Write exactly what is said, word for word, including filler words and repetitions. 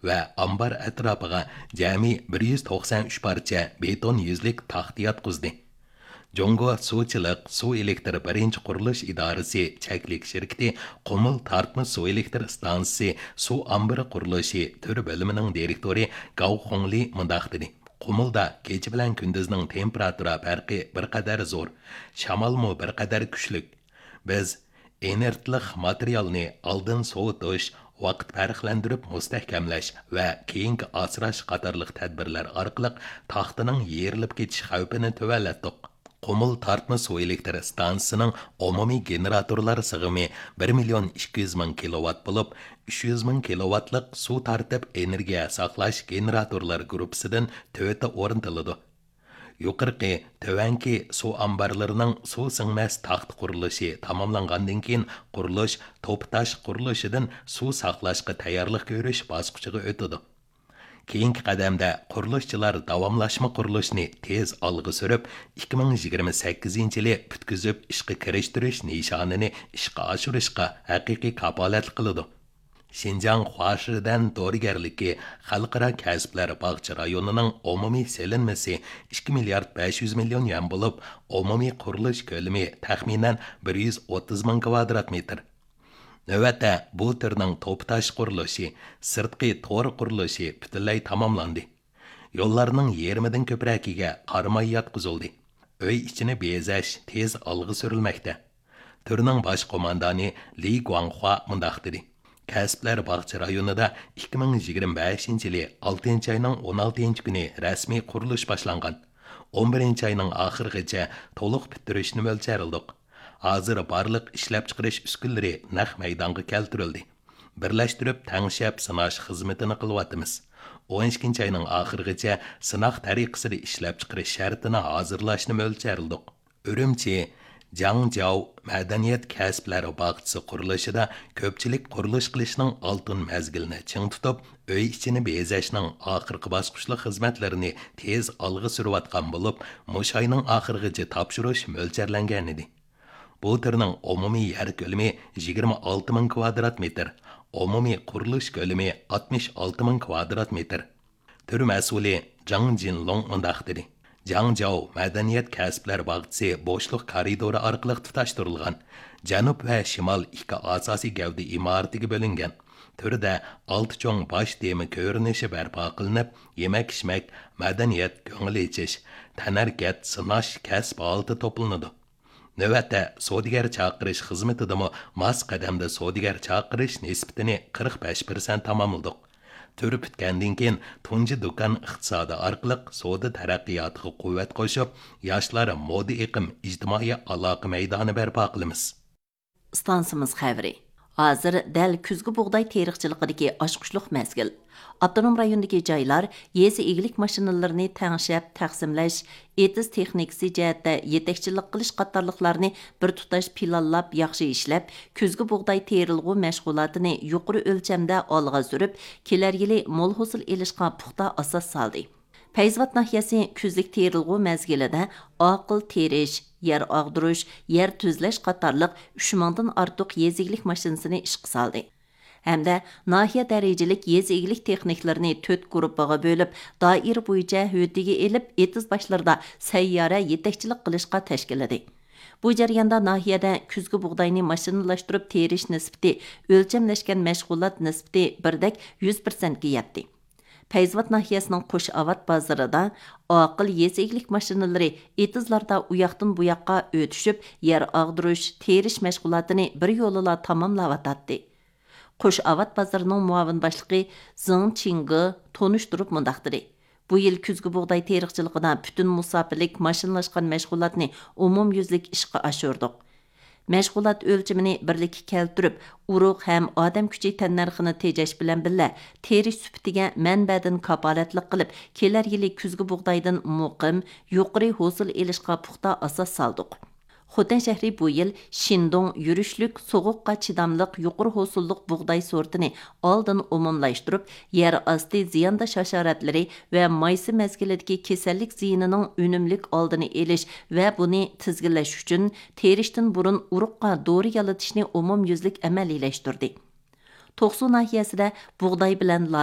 ۋە ئامبار ئەتراپىغا جەمئىي بىر يۈز توقسان ئۈچ پارچە بېتون يۈزلۈك تاختا ياتقۇزدى. جۇڭگو سۇچىلىق سۇ ئېلېكتىر بىرىنچى قۇرۇلۇش ئىدارىسى چەكلىك شىركىتى قۇمۇل تارتما سۇ ئېلېكتىر ئىستانسىسى سۇ ئامبىرى قۇرۇلۇشى تۈر بۆلۈمىنىڭ دىرېكتورى گاۋ خۇڭلى مۇنداق دېدى: قۇمۇلدا كېچە بىلەن كۈندۈزنىڭ تېمپېراتۇرا پەرقى بىر قەدەر زور، شامالمۇ بىر قەدەر كۈچلۈك. بىز ئىنېرتلىق ماتېرىيالنى ئالدىن سوۋۇتۇش، ۋاقىت پەرقلەندۈرۈپ مۇستەھكەملەش ۋە كېيىنكى ئاسراش قاتارلىق تەدبىرلەر ئارقىلىق تاختىنىڭ يېرىلىپ كېتىش خەۋپىنى تۆۋەنلەتتۇق. قۇمۇل تارتما سۇ ئېلېكتىر ئىستانسىسىنىڭ ئومۇمىي گېنېراتورلار سىغىمى بىر مىليون ئىككى يۈز مىڭ كىلوۋات بولۇپ، ئۈچ يۈز مىڭ كىلوۋاتلىق سۇ تارتىپ ئېنېرگىيە ساقلاش گېنېراتورلار گۇرۇپپىسىدىن تۆتى ئورنىتىلىدۇ. يۇقىرىقى، تۆۋەنكى سۇ ئامبارلىرىنىڭ سۇ سىڭمەس تاختا قۇرۇلۇشى تاماملانغاندىن كېيىن، قۇرۇلۇش توپا تاش قۇرۇلۇشىدىن سۇ ساقلاشقا تەييارلىق كۆرۈش باسقۇچىغا ئۆتىدۇ. كېيىنكى قەدەمدە قۇرۇلۇشچىلار داۋاملاشما قۇرۇلۇشنى تېز ئالغا سۈرۈپ، ئىككى مىڭ يىگىرمە سەككىزىنچى يىلى پۈتكۈزۈپ ئىشقا كىرىشتۈرۈش نىشانىنى ئىشقا ئاشۇرۇشقا ھەقىقىي كاپالەتلىك قىلىدۇ. شىنجاڭ خۇاشىدەن دورىگەرلىكى خەلقئارا كەسىپلەر باغچە رايونىنىڭ ئومۇمىي سېلىنمىسى ئىككى مىليارد بەش يۈز مىليون يۈەن بولۇپ، ئومۇمىي قۇرۇلۇش كۆلىمى تەخمىنەن بىر يۈز ئوتتۇز مىڭ كىۋادرات مېتىر. نۆۋەتتە بۇ تۈرنىڭ توپا تاش قۇرۇلۇشى، سىرتقى تور قۇرۇلۇشى پۈتۈنلەي تاماملاندى. يوللارنىڭ يېرىمىدىن كۆپرەكىگە قاراماي ياتقۇزۇلدى. ئۆي ئىچىنى بېزەش تېز ئالغا سۈرۈلمەكتە. تۈرنىڭ باش قوماندانى لى گۇاڭخۇا مۇنداق دېدى: كەسىپلەر باغچە رايونىدا ئىككى مىڭ يىگىرمە بەشىنچى يىلى ئالتىنچى ئاينىڭ ئون ئالتىنچى كۈنى رەسمىي قۇرۇلۇش باشلانغان. ئون بىرىنچى ئاينىڭ ئاخىرىغىچە تولۇق پۈتتۈرۈشنى مۆلچەرلىدۇق. ھازىر بارلىق ئىشلەپچىقىرىش ئۈسكۈنىلىرى نەق مەيدانغا كەلتۈرۈلدى. بىرلەشتۈرۈپ تەڭشەپ سىناش خىزمىتىنى قىلىۋاتىمىز. ئون ئىككىنچى ئاينىڭ ئاخىرىغىچە سىناق تەرىقىسىدە ئىشلەپچىقىرىش شەرتىنى ھازىرلاشنى مۆلچەرلىدۇق. ئۈرۈمچى، جاڭجياۋ مەدەنىيەت كەسىپلەر باغچىسى قۇرۇلۇشىدا كۆپچىلىك قۇرۇلۇش قىلىشنىڭ ئالتۇن مەزگىلىنى چىڭ تۇتۇپ، ئۆي ئىچىنى بېزەشنىڭ ئاخىرقى باسقۇچلۇق خىزمەتلىرىنى تېز ئالغا سۈرۈۋاتقان بولۇپ، مۇشۇ ئاينىڭ ئاخىرىغىچە تاپشۇرۇش مۆلچەرلەنگەنىدى. بۇ تۈرنىڭ ئومۇمىي يەر كۆلىمى يىگىرمە ئالتە مىڭ كىۋادرات مېتىر، ئومۇمىي قۇرۇلۇش كۆلىمى ئاتمىش ئالتە مىڭ كىۋادرات مېتىر. تۈر مەسئۇلى جاڭ جىنلۇڭ مۇنداق دېدى: جاڭجياۋ مەدەنىيەت كەسىپلەر باغچىسى بوشلۇق كارىدورى ئارقىلىق تۇتاشتۇرۇلغان. جەنۇب ۋە شىمال ئىككى ئاساسىي گەۋدە ئىمارىتىگە بۆلۈنگەن. تۈردە ئالتە چوڭ باش تېما كۆرۈنۈشى بەرپا قىلىنىپ، يېمەك-ئىچمەك، مەدەنىيەت، كۆڭۈل ئېچىش، تەنھەرىكەت، سىناش، كەسىپ ھالىتى توپلىنىدۇ. نۆۋەتتە سودىگەر چاقىرىش خىزمىتىدىمۇ ماس قەدەمدە سودىگەر چاقىرىش نىسبىتىنى قىرىق بەش پىرسەنت تاماملىدۇق. تۈر پۈتكەندىن كېيىن، تۇنجى دۇكان ئىقتىسادى ئارقىلىق سودا تەرەققىياتىغا قۇۋۋەت قوشۇپ، ياشلار مودا ئېقىم ئىجتىمائىي ئالاقە مەيدانى بەرپا قىلىمىز. ئىستانسىمىز خەۋىرى. ھازىر دەل كۈزگى بۇغداي تېرىقچىلىقىدىكى ئاچقۇچلۇق مەزگىل. ئاپتونوم رايوندىكى جايلار يېزا ئىگىلىك ماشىنىلىرىنى تەڭشەپ، تەقسىملەش، ئېتىز تېخنىكىسى جەھەتتە يېتەكچىلىك قىلىش قاتارلىقلارنى بىر تۇتاش پىلانلاپ ياخشى ئىشلەپ، كۈزگى بۇغداي تېرىلغۇ مەشغۇلاتىنى يۇقىرى ئۆلچەمدە ئالغا سۈرۈپ، كېلەر يىلى مول ھوسۇل ئېلىشقا پۇختا ئاساس سالدى. پەيزىۋات ناھىيەسى كۈزلۈك تېرىلغۇ مەزگىلىدە ئاقىل تېرىش، يەر ئاغدۇرۇش، يەر تۈزلەش قاتارلىق ئۈچ مىڭدىن ئارتۇق يېزا ئىگىلىك ماشىنىسىنى ئىشقا سالدى. ھەمدە ناھىيە دەرىجىلىك يېزا ئىگىلىك تېخنىكلىرىنى تۆت گۇرۇپپىغا بۆلۈپ، دائىرە بويىچە ھۆددىگە ئېلىپ، ئېتىز باشلىرىدا سەييارە يېتەكچىلىك قىلىشقا تەشكىللىدى. بۇ جەرياندا ناھىيەدە كۈزگى بۇغداينى ماشىنىلاشتۇرۇپ تېرىش نىسبىتى ئۆلچەملەشكەن مەشغۇلات نىسبىتى بىردەك يۈز پىرسەنتكە يەتتى. پەيزىۋات ناھىيەسىنىڭ قوش ئاۋات بازىرىدا ئاقىل يېزا ئىگىلىك ماشىنىلىرى ئېتىزلاردا ئۇياقتىن بۇياققا ئۆتۈشۈپ، يەر ئاغدۇرۇش، تېرىش مەشغۇلاتىنى بىر يولىلا تاماملاۋاتاتتى. قوش ئاۋات بازىرىنىڭ مۇئاۋىن باشلىقى زېڭ چىڭگې تونۇشتۇرۇپ مۇنداق دېدى: بۇ يىل كۈزگى بۇغداي تېرىقچىلىقىدا پۈتۈن مۇساپىلىك ماشىنىلاشقان مەشغۇلاتنى ئومۇميۈزلۈك ئىشقا ئاشۇردۇق. مەشغۇلات ئۆلچىمىنى بىرلىككە كەلتۈرۈپ، ئۇرۇق ھەم ئادەم كۈچى تەننەرخىنى تېجەش بىلەن بىللە، تېرىش سۈپىتىگە مەنبەدىن كاپالەتلىك قىلىپ، كېلەر يىلى كۈزگى بۇغدايدىن مۇقىم، يۇقىرى ھوسۇل ئېلىشقا پۇختا ئاساس سالدۇق. خوتەن شەھىرى بۇ يىل شىندۇڭ يۈرۈشلۈك سوغۇققا چىداملىق يۇقىرى ھوسۇللۇق بۇغداي سورتىنى ئالدىن ئومۇملاشتۇرۇپ، يەر ئاستى زىيانداش ھاشاراتلىرى ۋە مايسا مەزگىلىدىكى كېسەللىك زىيىنىنىڭ ئۈنۈملۈك ئالدىنى ئېلىش ۋە بۇنى تىزگىنلەش ئۈچۈن، تېرىشتىن بۇرۇن ئۇرۇققا دورا يالىتىشنى ئومۇميۈزلۈك ئەمەلىيلەشتۈردى. توقسۇ ناھىيەسىدە بۇغداي بىلەن لاز،